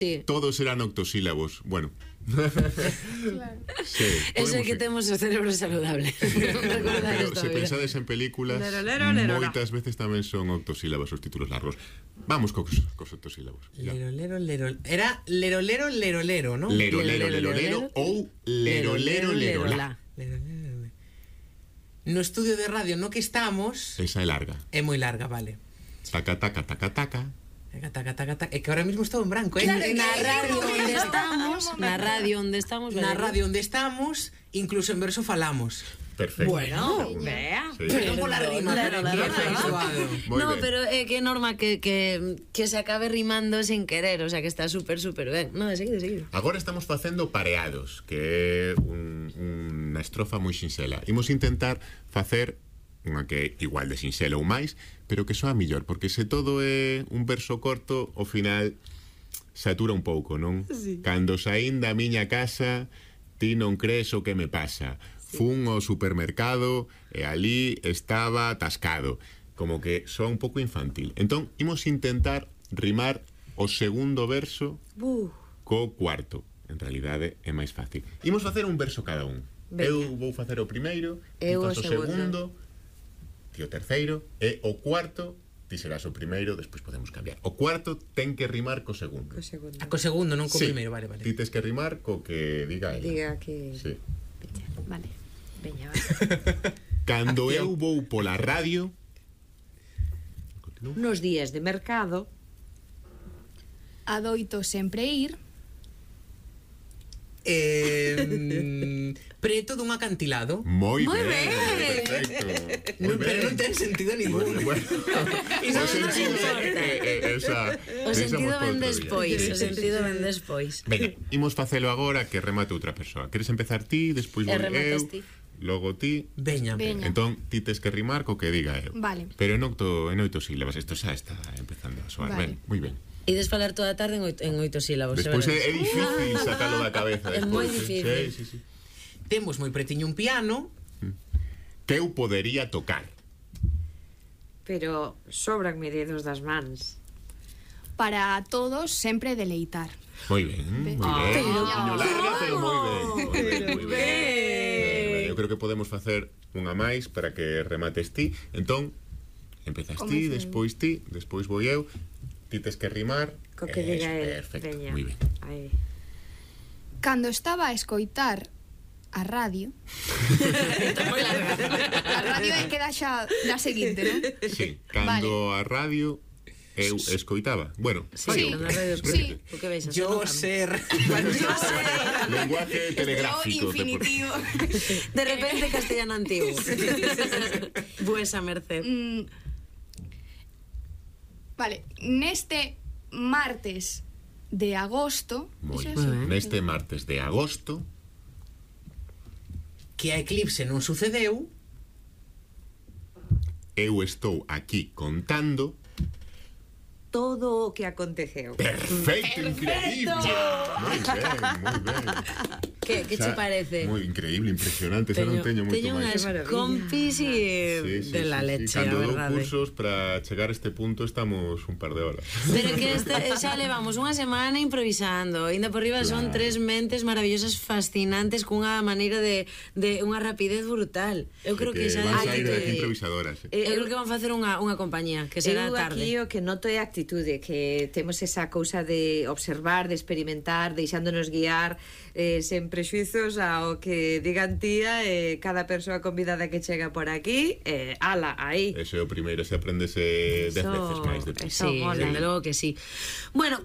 Sí. Todos eran octosílabos. Bueno. Claro. Sí, Eso é que temos o cerebro saludable. pero se pensades en películas, Lero, lero, moitas veces tamén son octosílabos os títulos largos. Vamos cos octosílabos. Ya. Lero. Era lero, ¿no? Lero ou lero. No estudio de radio no que estamos... Esa é larga. É moi larga, vale. Taca, taca, taca, taca. Taca. É que ahora mismo estou en branco, Claro, na radio onde estamos, incluso en verso falamos. Perfecto. bueno, vea. Sí. Pero por la rima, Moi No, ben. pero é que norma que se acabe rimando sin querer, o sea que está súper ben. No, de seguido. Agora estamos facendo pareados, que é unha estrofa moi sinxela. Imos intentar facer unha que é igual de sinxela ou máis, pero que soa mellor, porque se todo é un verso corto, ao final satura un pouco, non? Sí. Cando saín da miña casa, ti non crees o que me pasa. Fun ao supermercado e ali estaba atascado. Como que soa un pouco infantil. Entón, imos intentar rimar o segundo verso co cuarto. En realidade é máis fácil. Imos facer un verso cada un. Venga. Eu vou facer o primeiro, Eu ti fas o o segundo, ti o terceiro, e o cuarto ti serás o primeiro, despois podemos cambiar. O cuarto ten que rimar co segundo. Co segundo, non co Sí. primeiro, vale. Ti tes que rimar co que diga ela. Diga que... Sí. Vale. Veña, Cando eu vou pola radio... Continúo. Nos días de mercado, Adoito sempre ir. Preto dun acantilado. Moi Moi ben, ben. perfecto. Non, pero non ten sentido ningún. Bueno, Iso o non nos sentido importa. O sentido ven despois, o sentido ven despois. Venga, imos facelo agora que remate outra persoa. Queres empezar ti, despois vou rematas eu, ti. logo ti. Veña. Veña. Entón, ti tes que rimar co que diga eu. Vale. Pero en 8 sílabas, isto xa está empezando a soar. Vale. Ben, moi ben. Ides falar toda a tarde en 8 sílabos. Despois xa é verás. difícil sacalo da cabeza. É moi despois, difícil. Sí. Temos moi pretiño un piano. Que eu podería tocar. pero sobranme dedos das mans. Para todos sempre deleitar. Moi ben, moi ben. Pero- Tiño larga, pero moi ben. Moi ben. Ben. Eu creo que podemos facer unha máis para que remates ti. Entón, empezas ti, despois vou eu. Ti tes que rimar. Co que diga el. Perfecto, Veña. moi ben. Aí. Cando estaba a escoitar a radio, a radio é que dá xa da seguinte, non? Sí, cando a radio eu escoitaba. Bueno, Sí, fai na radio Sí. O que veis? Yo ser. lenguaje telegráfico. Infinitivo. De repente castellano antiguo. Vuesa merced. Vale, neste martes de agosto, Moi iso é ben. así. Neste martes de agosto, Que a eclipse non sucedeu. eu estou aquí contando. Todo o que aconteceu. Perfecto, increíble. Moi ben. Que che parece? Moi increíble, impresionante. Xa non teño moito Teño máis. unhas compis de la leche, a Cando dou verdade. cursos para chegar a este punto estamos un par de horas. Pero que xa levamos unha semana improvisando. Ainda por riba son tres mentes maravillosas, fascinantes, cunha maneira de unha rapidez brutal. Eu creo que xa van sair de aquí de improvisadoras. Eu creo que van facer unha compañía que será Eu tarde. aquí o que noto é a actitude, que temos esa cousa de observar, de experimentar, deixándonos guiar sen prexuizos ao que digan tía, cada persoa convidada que chega por aquí, ala, aí. Ese é o primeiro, se aprendese 10 veces máis de eso Sí, mola. desde logo que sí. Bueno,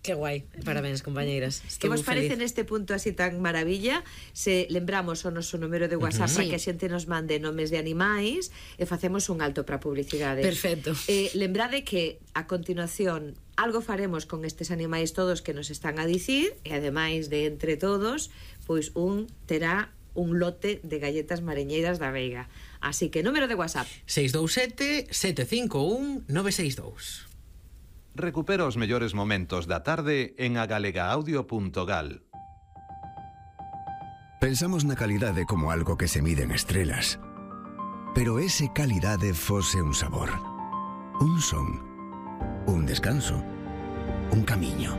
que guai. Parabéns, compañeiras. Que Estou vos parece feliz. neste punto así tan maravilla se lembramos o noso número de WhatsApp para Sí. que a xente nos mande nomes de animais e facemos un alto para publicidade. Perfecto. Lembrade que a continuación algo faremos con estes animais todos que nos están a dicir e ademais de entre todos, pois un terá un lote de galletas mariñeiras da Veiga. Así que número de WhatsApp 627-751-962. Recupera os mellores momentos da tarde en agalegaaudio.gal. Pensamos na calidade como algo que se mide en estrelas. Pero ese calidade fose un sabor, un son, un descanso, un camiño.